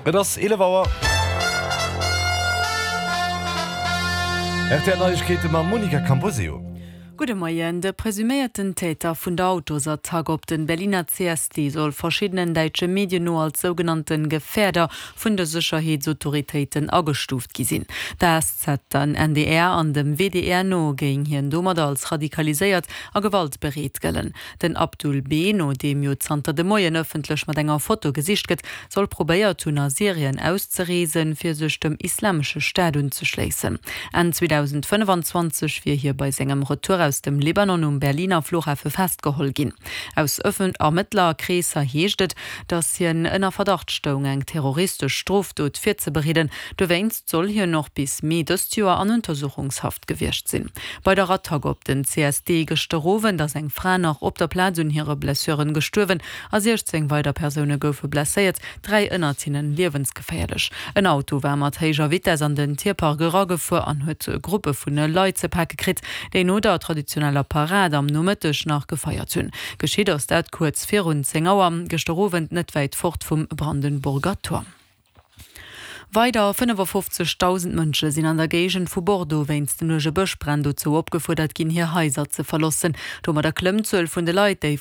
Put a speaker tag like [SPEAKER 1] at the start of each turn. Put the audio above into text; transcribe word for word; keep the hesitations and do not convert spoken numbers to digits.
[SPEAKER 1] Et ass eelef Auer. R T L Neiegkeete mam Monica Camposeo.
[SPEAKER 2] Gudde Moien. De presuméierten Täter vun der Autosattack op den Berliner C S D soll verschiddenen däitsche Medien no als sougenannte Gefährder vun de Sécherheetsautoritéiten agestuuft gi sinn. Der S Z, den N D R an dem W D R no géing hien domadder als radikaliséiert a gewaltbereet gëllen. Den Abdul B., no deem jo zanter de Moien ëffentlech mat enger Foto gesicht gëtt, soll probéiert hunn a Syrien auszereesen, fir sech dem Islamesche Staat unzeschléissen. Enn zweedausendfënnefanzwanzeg wier hie bei sengem Retour aus dem Libanon um Berliner Fluchhafe festgeholl ginn. Aus Ermëttlerkreesser heescht et, datt hien ënner Verdacht stoung, eng terroristesch Strofdot virzebereeden. Dowéinst soll hien och bis Mee dëst Joer an Untersuchungshaft gewiescht sinn. Bei der Attack op den C S D gëschter Owend ass eng Fra nach op der Plaz un hire Blessuren gestuerwen a siechzéng weider Persoune goufe blesséiert, dräi ënnert hinnen liewensgeféierlech. En Auto war mat héijer Vitess an den Tierpark eragefuer an huet Gruppe vun Leit ze pake kritt, déi no der traditioneller Parad am Nomëtteg nach gefeiert hunn. Geschitt ass dat kuerz virun zéng Auer gëschter Owend net wäit fort vum Brandenburger Tor. Weider fënnefafofzegdausend Mënsche sinn an der Géigend vu Bordeaux wéinst den uerge Bëschbränn dozou opgefuerdert ginn, hir Haiser ze verloossen. Domadder klëmmt d'Zuel vun de Leit, déi vun.